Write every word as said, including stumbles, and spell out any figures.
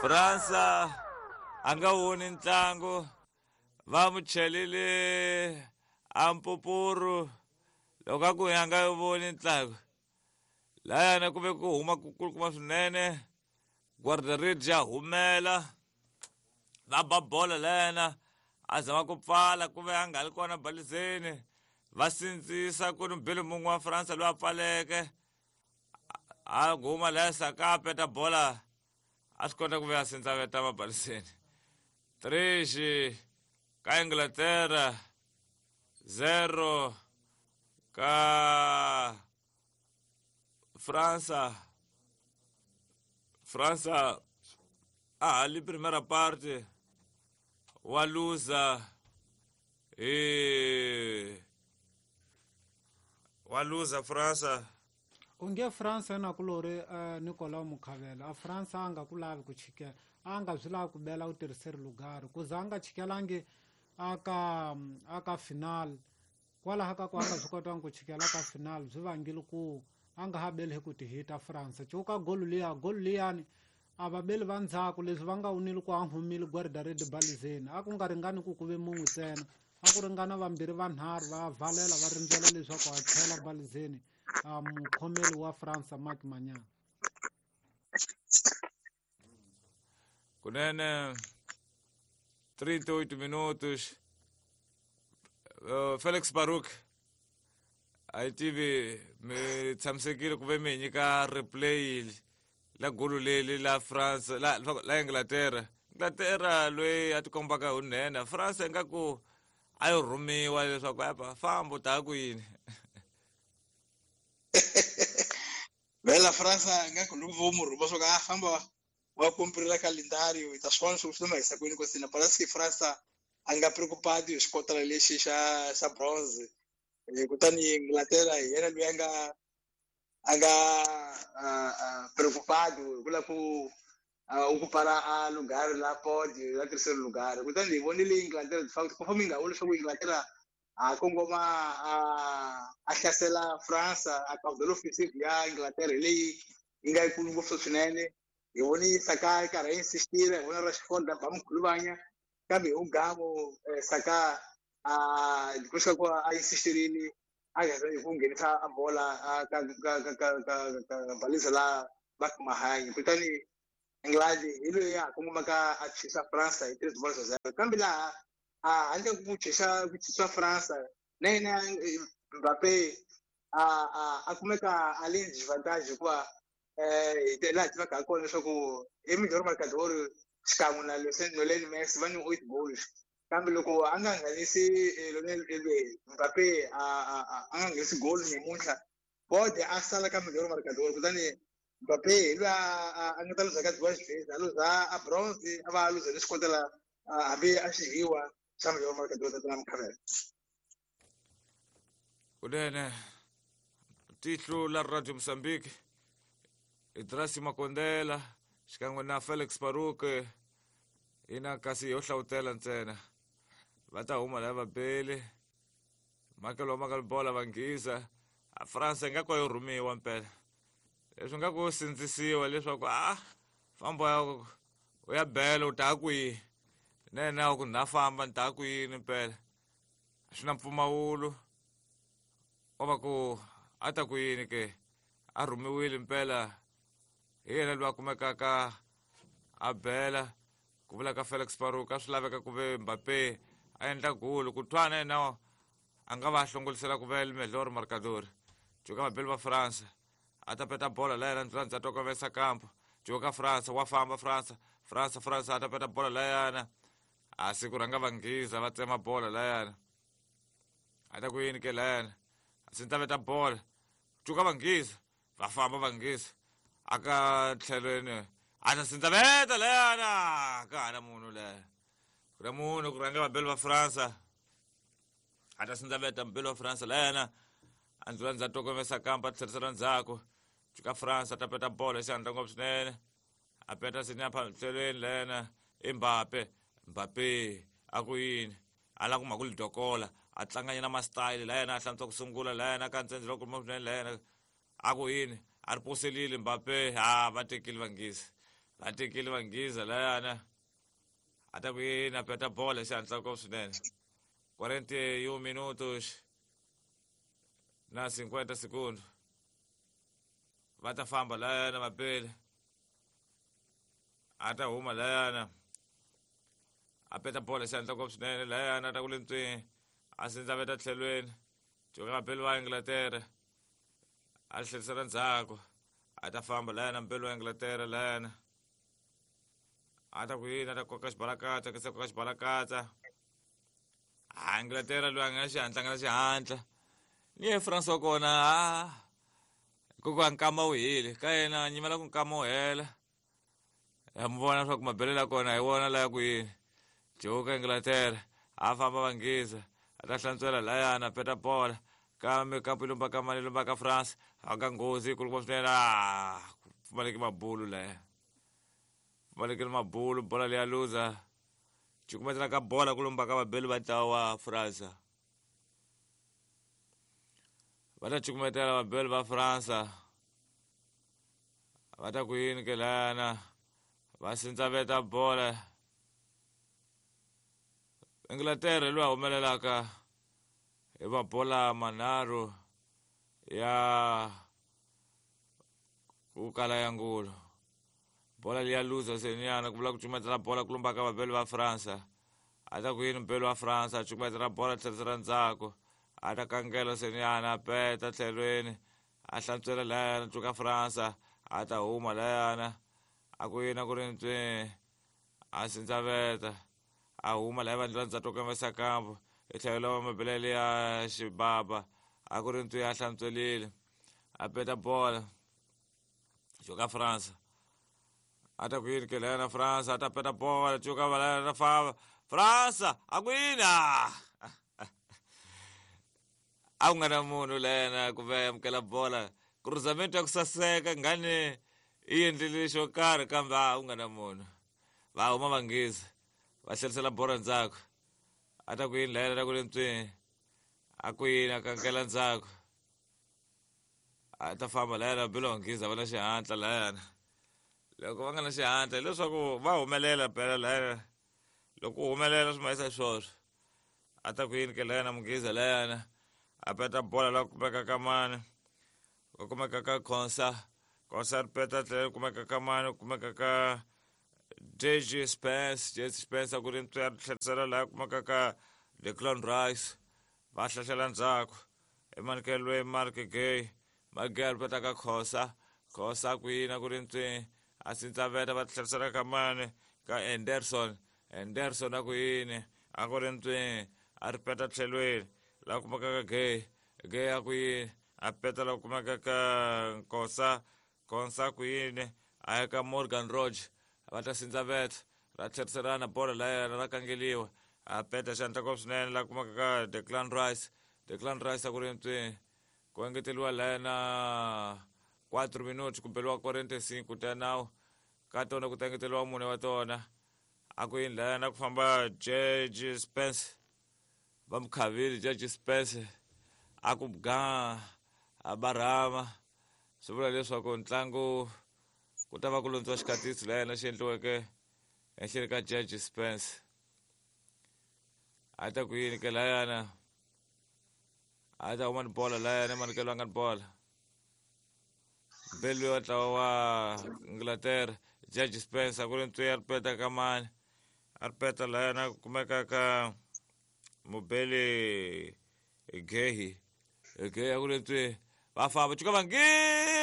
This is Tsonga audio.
Fransa a nga woni ntlangu va mu chelile a mpupuru loko a ku a nga voni ntlangu layana ku ve ku huma ku kulukuma swinene guarda-redes ya humela va ba bola layana a zama ku pfala ku ve a nga ri kona balizeni va sindzisa ku ni bele mun'we wa Fransa loyi a pfaleke a guma laya Saka a peta bola a swi kota ku ve a sindzaveta mabaliseni três ka Inglaterra zero ka Fransa. Fransa a hali primeira parte wa luza e wa luza Fransa onge Fransa na kulori uh, Nicolas Mukhavela a Fransa a nga ku lavi ku chikela a nga swi lavi ku bela u tirhiseri lugari ku za a nga chikelangi aka aka final kwalaho ka ku a nga swi kotanga ku chikela ka final byi vangile ku a nga ha beli hi ku tihita Fransa cuka golu liya golu liyani a va beli va ndzhaku leswi va nga wunile ku a humile guarda-redes balizeni a ku nga ringani ku ku ve mun'we ntsena a ku ringana vambirhi vanharhu va valela va rindzela leswaku a tlhela balizeni a mukhomeli wa Fransa Marc Magnan. Kunene trinta e oito minutos uh, Felix Baruk a yi tivi mi tshamisekile ku ve mi hi nyika replay la golo leli la France la la Inglaterra Inglaterra loyi a tikombaka hi nhenha France ingaku a yi rhumiwa leswaku apa famba u ta ku yini vela Fransa ingaku loko vo mu rhuma swo ka a famba wa cumprir calendário e ta swi vona swi swi mahisa kwini kosina parece que Fransa a nga preocupado hi xikotela lexi xa xa bronze kutani Inglaterra hi yena loyi a nga a nga preocupado hi ku lava ku ocupar a lugar la pódio la terceiro lugar kutani hi vonile Inglaterra de facto conforme nga vula leswaku Inglaterra a kongoma a a hlasela Fransa a caudal offensive ya Inglaterra hi leyi yi nga yikulu ngopfu swinene hi voni Saka yi karhi a insistile hi vona Rashford a ba mukhuluvanya kambe hi ugamo Saka a depois ku a insistirile a hi ku nghenisa a bola ka ka ka ka ka ka baliza la Marc Mahangi kutani England hi loyi a kongomaka a chisa Fransa hi três bolas a zero kambe laha a handle ku chisa ku chisa Fransa na yena Mbappé a a a kumeka a le disadvantage hikuva eh laha tivaka ha kona leswaku i melhor marcador xikan'we na Lionel Messi va ni eight goals kambe loko a nga nghenisi Lionel Mbappé a a a nga nghenisi goal namuntlha bode a sala ka melhor marcador kutani Mbappé hi loyi a nga ta luza ka duas vezes a luza a bronze a va a luza ni xikotela hambi a xi hiwa xa melhor marcador tatana Mukhavela. Kunene tihlo la Radio Mozambique Idrasi Makondela xikan'we na Felix Baruk ina kasi yo hlawutela ntsena va ta huma lava bele makelo wa bola va nghisa a France ingaku yo rhumiwa mpela leswi nga ku sindzisiwa leswaku a famba ya u ya bela u ta kwihi nene ku na famba ni ta kwini mpela swi na mpfumawulo wa va ku a ta ku yini ke a rhumiwile mpela hi yena loyi a kumekaka a bela ku vula ka Felix Baruk a swi laveka ku ve Mbappé a endla golo ku twana yena a nga va hlongolisela ku ve melhor marcador cuka mabeli va France a ta peta bola la yena ndzi a tokovesa kampo cuka France wa famba France France France a ta peta bola la yena a siku rhanga va nghiza va tsema bola la yena a ta ku yini ke la yena a swi ta veta bola cuka va nghiza va famba va nghiza aka tlhelweni a ta sindzaveta leyana ka ha na munhu leya ku na munhu ku rhanga vabeli va Fransa a ta sindzaveta mubeli wa Fransa leyana a ndzi ndza tokomesa kampa a tlherisela ndzhaku cuka France a ta peta bola xi ngopfu swinene a peta sinya tlhelweni leyana i Mbappé Mbappé a ku yini a lava ku mhaka ku lidokola a tlanganyana ma-style la yena a hlantswa ku sungula la yena ka ntsendze loko swinene la yena a ku yini a ri poselile Mbappé ha va tekile vanghezi Va tekile Vanghiza layana. A ta ku yini a peta bola xihatla ngopfu swinene. quarenta e um minutos na cinquenta segundos. Va ta famba layana vapele. A ta huma layana. A peta bola xihatla ngopfu swinene layana a ta ku le ntswini. A sindzaveta tlhelweni. Cuka vapeli va Inglaterra. A tlherisela ndzhaku. A ta famba layana mpeli wa Inglaterra layana. A ta ku yini a ta koka xibalakatsa ka se koka xibalakatsa. A Inglaterra loyi a nga na xihatla nga na xihatla. Ni ye France wa kona a hikuva nkama wu heli ka yena a nyimela ku nkama wu hela. Ya mi vona leswaku mabelelo ya kona hi wona laya ku yini. Cuka Inglaterra a famba Vanghiza a ta hlantswela layana a peta bola kambe kampu yi lumba ka mani lumba ka France a ka nghozi yikulukumba swinene a ku pfumaleki mabulu laya. Pfumalekile mabulu bola leya luza. Cukumetela ka bola ku lumba ka vabeli va ntlawa wa France. Va ta cukumetela vabeli va France. Va ta ku yini ke layana va sindzaveta bola. Inglaterra loyi a humelelaka hi mabola manharhu ya ku kala ya ngulu. Bola liya luza seniyana ku vula ku cukumetela bola ku lumba ka vabeli va France. A ta ku yini mubeli wa France a cukumetela bola tlherisela ndzhaku. A ta kangela seniyana a peta tlhelweni a hlantswela layana cuka France a ta huma layana a ku yini a ku ri ntswini a sindzaveta a huma laya vandla ndzhaku ka masakambu hi tlhelo wa mabelele ya xibaba a ku ri ntswi a hlantswelile a peta bola cuka France a ta ku yini ke layana France a ta peta bola cuka valana famba France a ku yini a a ku nga na munhu layana ku va amukela bola cruzamento ya ku saseka ngani i endlile xo karhi kambe a ku nga na munhu. Va huma Vanghiza va tlherisela bola ndzhaku. A ta ku yini layana ta ku le ntswini a ku yini a kankela ndzhaku. A ta famba layana belo Vanghiza va na xihatla layana. Loko va nga na xihatla hileswaku va humelela phela layana. Loko u humelela swi mahisa swoswo. A ta ku yini ke layana Munghiza layana a peta bola la kumeka ka mani ku kumeka ka Konsa. Konsa ri peta tlhela kumeka ka mani kumeka ka J J Spence. J J Spence a ku ri ntswi a ri tlherisela laha kumeka ka Declan Rice. Va hlahlela ndzhaku emanekelweni Mark Gay. Mark Gay a ri peta ka Khosa. Khosa a ku yini a ku ri ntswi a sindzaveta va tlherisela ka mani ka Anderson. Anderson a ku yini a ku ri ntswi a ri peta tlhelweni laha kumeka ka Gay. Gay a ku yini a peta laha kumeka ka Nkosa. Konsa a ku yini a ya ka Morgan Roge. Va ta sindzaveta ra tlheriselana bola layana ra kangeliwa a peta xandla ngopfu swinene laha kumeka ka Declan Rice. Declan Rice a ku ri ntswini ku engeteriwa layana quatro minutos ku beliwa quarenta e cinco ta nawu ka tona ku ta engeteriwa mune wa tona. A ku yini layana ku famba J J Spence va mukhavile J J Spence a ku ga a barhama swi vula leswaku ntlangu ku ta va ku lundziwa xikatisi layena xi endliweke ehenhleni ka J J Spence. A ta ku yini ke layana a ta huma ni bola layana emanikelo a nga ni bola mbeli wa ntlawa wa Inglaterra J J Spence a ku ri ntswi a ri peta ka mani a ri peta layana ku kumeka ka mubeli Gehi. Gehi a ku ri ntswi va famba cuka Vanghiza.